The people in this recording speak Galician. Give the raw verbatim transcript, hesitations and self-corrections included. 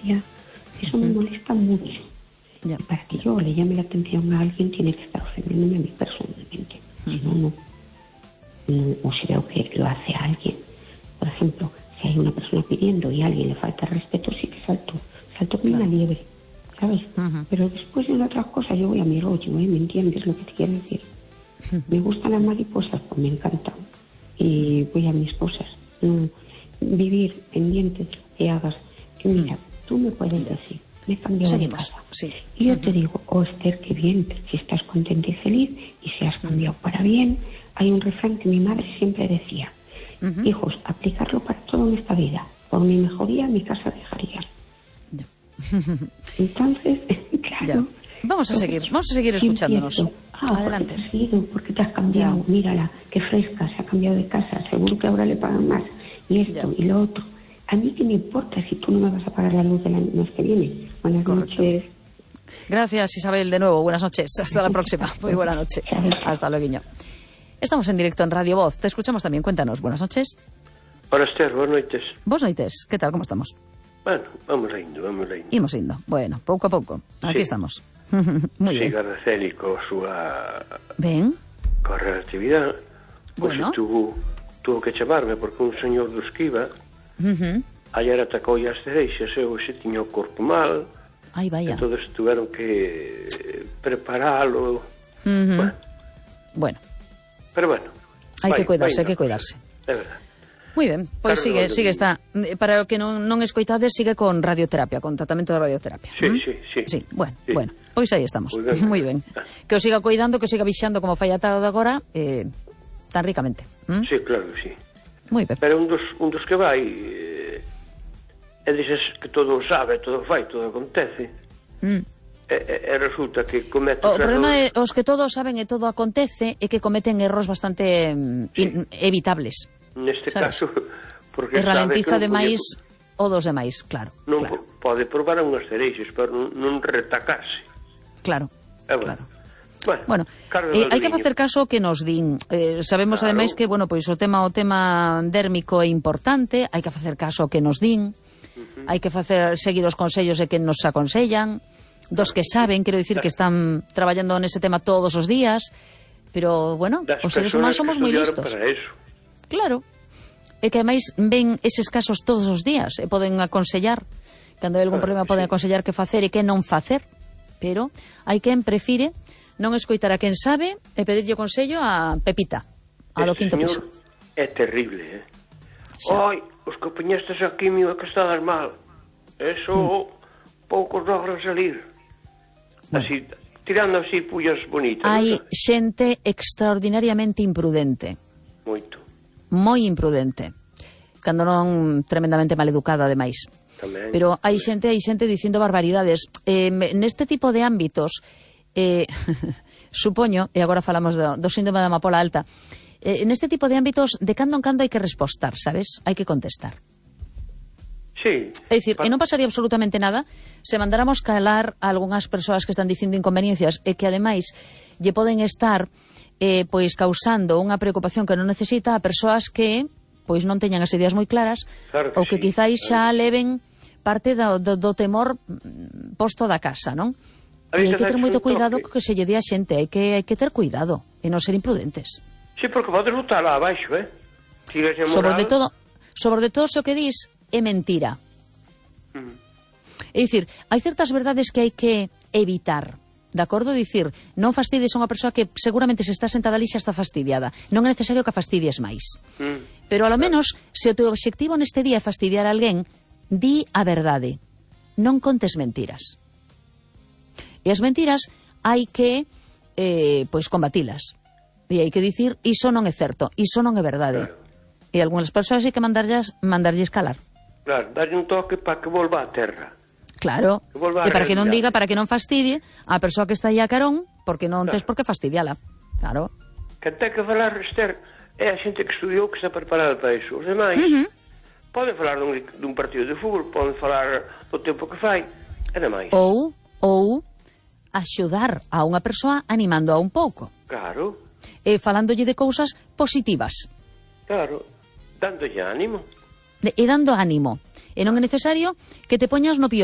diferencia, eso me molesta mucho. Ya. Para que yo le llame la atención a alguien tiene que estar ofendiéndome a mí personalmente. Uh-huh. Si no, no. no. O si veo que lo hace a alguien. Por ejemplo, si hay una persona pidiendo y a alguien le falta respeto, sí que salto. Salto como claro. una liebre, ¿sabes? Uh-huh. Pero después de otras cosas yo voy a mi rollo, ¿eh? ¿Me entiendes lo que te quiero decir? Uh-huh. Me gustan las mariposas, pues me encantan. Y voy a mis cosas. No, vivir pendiente de lo que hagas. Que mira, tú me puedes decir, me he cambiado Seguimos. de casa. Sí. Y yo uh-huh. te digo, oh Esther, qué bien, si estás contenta y feliz y si has cambiado uh-huh. para bien. Hay un refrán que mi madre siempre decía, uh-huh. hijos, aplicarlo para todo en esta vida. Por mi mejoría, mi casa dejaría. Ya. Entonces, claro. Ya. Vamos a seguir, vamos a seguir escuchándonos. Ah, adelante. Porque, sido, porque te has cambiado, ya. Mírala, qué fresca, se ha cambiado de casa, seguro que ahora le pagan más. Y esto ya. Y lo otro. A mí qué me importa si tú no me vas a pagar la luz del año que viene. Buenas Correcto. Noches. Gracias, Isabel, de nuevo. Buenas noches. Hasta la próxima. Muy buena noche. Hasta luego. Estamos en directo en Radio Voz. Te escuchamos también. Cuéntanos. Buenas noches. Hola, Esther. Buenas noches. Buenas noches. ¿Qué tal? ¿Cómo estamos? Bueno, vamos indo, vamos indo. Imos indo. Bueno, pouco a pouco. Aquí sí. Estamos. Muy bien. Siga Araceli coa súa... Ben. Coa relatividade. Pois Bueno. tuvo, tuvo que chamarme porque un señor do Esquiva uh-huh. ayer atacou as cereixas e hoxe tiña o corpo mal. Ai, vaya. Entonces tuveron que preparalo. Uh-huh. Bueno. Bueno. Pero bueno. Hai vai, que cuidarse, vai, hai que cuidarse. É verdade. Moi ben, pois pues sigue, sigue está. Para o que non, non escoitades, sigue con radioterapia, con tratamento de radioterapia. Sí, ¿Mm? sí, sí. Sí, bueno, sí. bueno, pois aí estamos. Moi ben. Ah. Que o siga cuidando, que o siga vixando como fai atado de agora, eh, tan ricamente. ¿Mm? Sí, claro que sí. Moi ben. Pero un dos, un dos que vai eh, e dices que todo o sabe, todo fai, todo acontece. Mm. E, e, e resulta que comete o problema errores. é os que todos saben e todo acontece é que cometen erros bastante sí. in, evitables. Neste ¿sabes? caso, porque e ralentiza demais podía, o dos demais, claro. Non claro. pode probar unhas cereixas, pero non, non retacarse. Claro, é bueno. claro. Bueno, bueno eh, hai que facer caso que nos din. Eh, sabemos claro. Ademais que, bueno, pois o tema o tema dérmico é importante, hai que facer caso que nos din. Uh-huh. Hai que facer seguir os consellos de que nos aconsellan, dos que saben, quero dicir que están traballando nese tema todos os días, pero, bueno, das os seres humanos somos moi listos. Para eso. Claro. E que ademais ven eses casos todos os días e poden aconsellar, cando hai algún ah, problema poden sí. aconsellar que facer e que non facer, pero hai quen prefire non escoitar a quen sabe e pedirlle consello a Pepita, a do quinto piso. É terrible, eh? Ai, os que poñestes a quimio que estás mal, eso mm. poucos logran salir. Bueno. Así, tirando así pullas bonitas. Hai ¿no? xente extraordinariamente imprudente. Moito. Moi imprudente, cando non tremendamente maleducada ademais. Tamén, pero hai tamén. xente, hai xente dicindo barbaridades. Eh, neste tipo de ámbitos, eh, supoño, e agora falamos do, do síndrome da amapola alta, eh, neste tipo de ámbitos, de cando en cando hai que respostar, sabes? Hai que contestar. Sí. É dicir, pa... e non pasaría absolutamente nada se mandáramos calar a algunhas persoas que están dicindo inconveniencias e que ademais lle poden estar eh, pois causando unha preocupación que non necesita a persoas que pois non teñan as ideas moi claras claro que ou que sí, quizáis xa claro leven parte do, do, do temor posto da casa, non? E hai que ter moito cuidado co que se lle di a xente, hai que, hai que ter cuidado e non ser imprudentes. Sí, porque podes botar lá abaixo, eh? Sobre de todo, sobre de todo o que dis é mentira. Uh-huh. É dicir, hai certas verdades que hai que evitar. De acordo? Dicir, non fastidies a unha persoa que seguramente se está sentada ali xa está fastidiada. Non é necesario que a fastidies máis. Mm. Pero ao menos, se o teu obxectivo neste día é fastidiar a alguén, di a verdade. Non contes mentiras. E as mentiras hai que eh, pois combatilas. E hai que dicir, iso non é certo, iso non é verdade. Claro. E algunhas persoas hai que mandarlles, mandarlles calar. Claro, darlle un toque para que volva á terra. Claro, e para que non diga, para que non fastidie a persoa que está aí a carón, porque non claro. Tes por que fastidiala. Claro. Que ten que falar, Esther, é a xente que estudiou que está preparada para iso. Os demais uh-huh. poden falar dun, dun partido de fútbol, poden falar do tempo que fai, e demais. Ou, ou axudar a unha persoa animando a un pouco. Claro. E falándolle de cousas positivas. Claro, dándolle ánimo. De, e dando ánimo. E non é necesario que te poñas no pior